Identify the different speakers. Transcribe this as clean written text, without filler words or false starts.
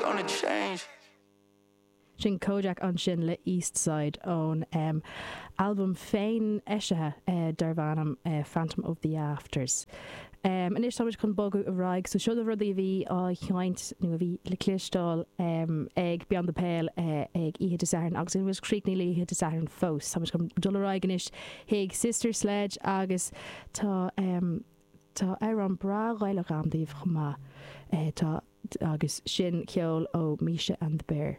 Speaker 1: gonna change.
Speaker 2: Sin Kojaque ansin le East Side ón albam féin-eisithe darb ainm Phantom of the Afters. Anois táimid chun bogadh ar aghaidh. So seo na rudaí a bhí á sheinnt nó a bhí le cloisteáil ag Beyond the Pale ag oíche Dé Sathairn agus níl muid críochnaithe le oíche Dé Sathairn fós. Táimid chun dul ar aghaidh anois chuig Sister Sledge agus tá tá amhrán breá Gaelach agam daoibh chomh maith. Tá agus sin ceol ó Misha and the Bear.